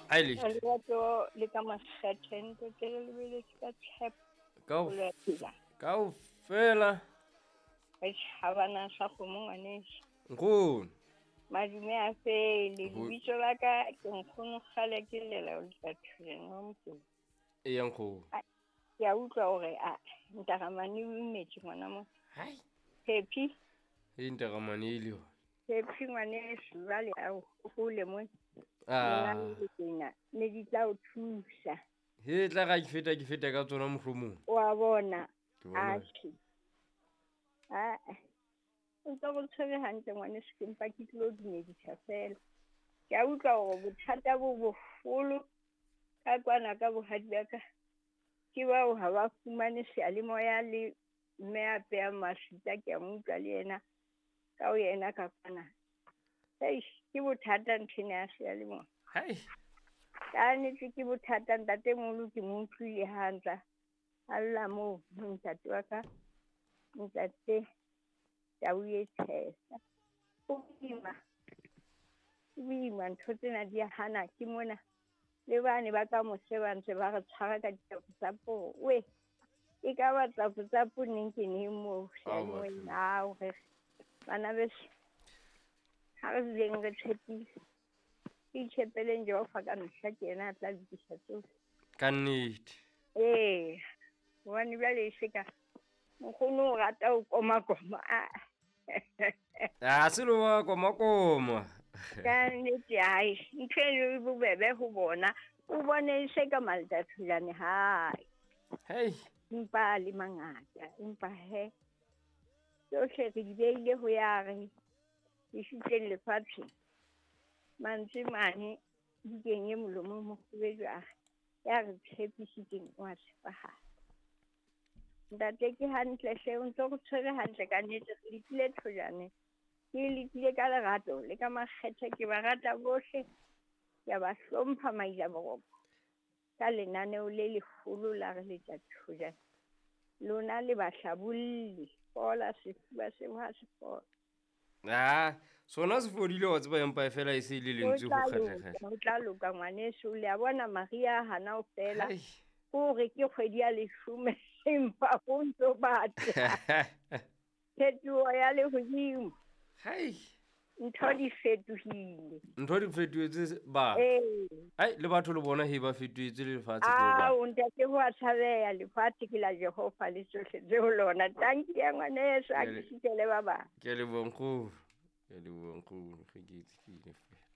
Aile. Lerato le ka makgethe ntate re lebeletse ka tshepo Ka ho ya phela. Kaofela. Re tjhabana sa kgomo ngwaneso. Nkgono. Madume a fele. Lebitso la ka ke nkgono kgale ke llela o tla thuleng wa mokolo. Eya nkgono. Ke a utlwa hore a ntaramane o imetse ngwana mo. Hai. Happy. E ntaramane e le yona. Happy ngwaneso jwale a o hole mo. Ah. Nna ne di tla o thusa. He tla ga ke feta ka tsona mohlomong. Wa bona. Ke bona. Atjhe. Ah. O ntse o tshwere hantle ngwaneso, ke mpa ke tlilo dumedisa fela. Ke a utlwa hore bothata bo boholo ka kwana ka bohadi ba ka. Ke bao ha ba fumane seyalemoya le mme a peyang maswita, ke a mo utlwa le yena ka ho yena ka kwana. Eish, ke bothata nthwena ya seyalemoya. Hai. Ka nnete ke bothata ntatemoholo ke mo utlwile ha ntla a lla moo ntate wa ka, ntate Tau e tshehla. Ho boima, ho boima ntho tsena di a hana ke mona. Le bane ba ka mose ba ntse ba re tshwara ka ditapotsapo. We, e ka ba tapotsapo neng ke neng moo seyalemoyeng? Ao, re bana beso, ha re duleng re tshepile. Ke itshepeleng Jehova ka mehla, ke yena a tla lokisa tsohle. Ka nnete. Ee, hobane jwale e se ka nkgono o rata ho komakoma. A se lo wa komakoma. Ka nnete, hai, ntho eno e bobebe ho bona. O bone e se ka maltathulane hae. Hei. Empa le mangata, empa he. Tsohle re di beile ho ya re di fihleng lefatsheng. Mantswe mane bukeng e molomo mokgubedu a re, ya re tshepisitseng o a tshepahala. Ntate ke hantle hle, o ntso re tshwere hantle ka nnete, re letile thojane. Ke letile ka lerato le ka makgethe, ke ba rata bohle. Ke a ba hlompha maila boroko. Ka lenaneo le leholo la re letsa thojane. Lona le bahlabolli, fola sefuba seo ha se fola. Ah, sona se fodile wa tseba empa fela e se le lentswe ho kgahleha. Ho tla loka ngwaneso, le a bona Maria hana o fela. Hai. Hore ke kgwedi ya leshome empa ho ntso batla. Phetoho ya lehodimo. Hai. Ntho di fetohile. Ntho di fetohetse ba. Ee. Ai, le batho le bona he ba fetohetse le lefatshe ke hoba. Ao, ntate, ho a tshabeha, lefatshe ke la Jehova le tsohle tse ho lona. Tanki ya ngwaneso, a ke sitele ba bang. Ke a leboha nkgono. Ke a leboha nkgono, ge ke itse ke ile fela.